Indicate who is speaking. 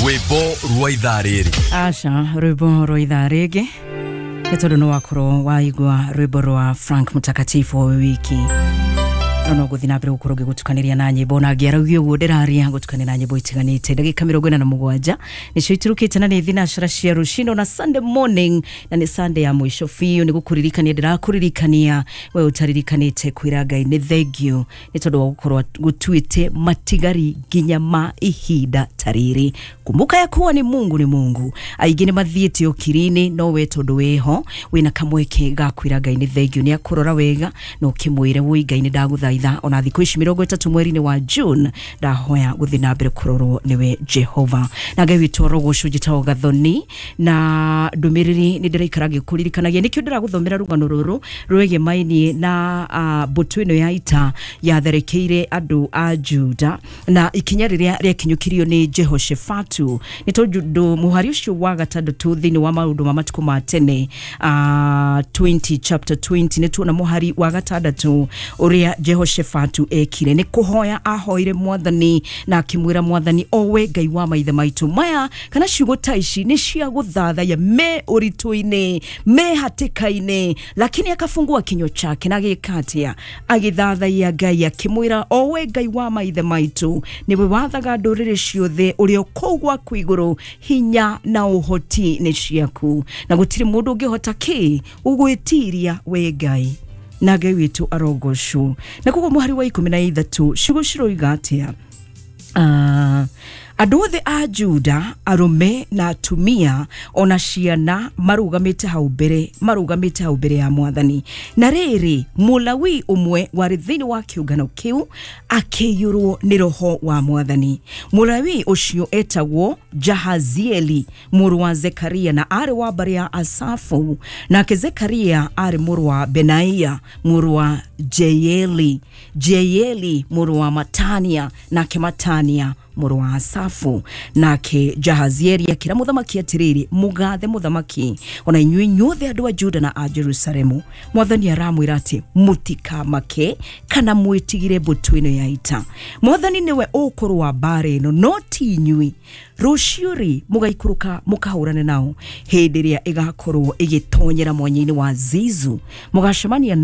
Speaker 1: Rwĩmbo rwa ithaa rĩrĩ.
Speaker 2: Aca, rwĩmbo rwa ithaa rĩngĩ nĩ tondũ nĩ wakorwo waigua rwĩmbo rwa Frank Mtakatifu o wiki, no ngũthiĩ na mbere gũkorwo ngĩgũtukanĩria na nyĩmbo, na ngĩaragia ũguo ndĩraria gũtukania na nyĩmbo itiganĩte. Ndagĩka 47 nĩcio iturũkĩte, na nĩ thinacara cia rũcinĩ na Sunday morning, na nĩ Sunday ya mũico biũ. Nĩ gũkũririkania ndĩrakũririkania we ũtaririkanĩte kwĩra Ngai nĩ thengiũ nĩ tondũ wa gũkorwo gũtuĩte matigari nginya ma ihinda ta rĩrĩ. Kumbuka ya kuwa ni Mungu ni Mungu. Aingĩ nĩ mathiĩte ũkiri-inĩ, no we tondũ wĩho wĩna kamweke ga kwĩra Ngai nĩ thengiũ, nĩ akũrora wega na ũkĩmwĩre, woi Ngai, nĩ ndagũthaitha ona thikũ ici 30 mweri-inĩ wa June, ndahoya gũthiĩ na mbere kũrorwo nĩwe Jehova na Ngai witũ arogocwo. Njĩtagwo Gathoni na ndũmĩrĩri nĩ ndĩraikara ngĩkũririkanagia, nĩkĩo ndĩragũthomera rũgano rũrũ rwĩgĩmainie na mbũtũ ĩno ya ita yatherekeire andũ a Juda na ikinya rĩrĩa rĩakinyũkirio nĩ Jehoshafatu, nĩ tondũ mũhari ũcio wa gatandatũ thĩinĩ wa Maũndũ ma Matukũ ma Tene 20, chapter 20, nĩ tuona mũhari wa gatandatũ ũrĩa Jehoshafatu ekire nĩ kũhoya ahoire Mwathani na akĩmwĩra Mwathani, o we Ngai wa maithe maitũ maya, kana ciugo ta ici nĩ cia gũthathaiya me ũritũ-inĩ, me hatĩka-inĩ, lakini akafungua kinywa chake na agĩka atĩa? Agĩthathaiya Ngai akĩmwĩra, o we Ngai wa maithe maitũ, nĩwe wathaga ndũrĩrĩ ciothe, ũrĩa kũu gwaku igũrũ, hinya na ũhoti nĩ ciaku, na gũtirĩ mũndũ ũngĩhota kĩ gũgwĩtiria we Ngai, na Ngai witũ arogocwo. Na koguo mũhari wa 13, ciugo ciroiga atĩa? Andũ othe a Juda, arũme na atumia ona ciana, marũgamĩte hau mbere ya Mwathani. Na rĩrĩ, Mũlawi ũmwe warĩ thĩinĩ wa kĩũngano kĩu akĩiyũrwo nĩ roho wa Mwathani. Mũlawi ũcio etagwo Jahazieli mũrũ wa Zekaria, na arĩ wa mbarĩ ya Asafu. Nake Zekaria arĩ mũrũ wa Benaia, mũrũ wa Jeyeli, Jeyeli mũrũ wa Matania, nake Matania mũrũ wa Asafu. Nake Jahazieli akĩra mũthamaki atĩrĩrĩ, mũgathe mũthamaki, ona inyuĩ inyuothe andũ a Juda na a Jerusalemu, Mwathani aramwĩra atĩ mũtikamake kana mwĩtigire mbũtũ ĩno ya ita. Mwathani nĩwe ũkũrũa mbaara ĩno, no ti inyuĩ. Rũciũ rĩ, mũgaikũrũka mũkahũrane nao hĩndĩ ĩrĩa ĩgakorwo ĩgĩtonyera mwanya-inĩ wa Zizu, mũgacemania na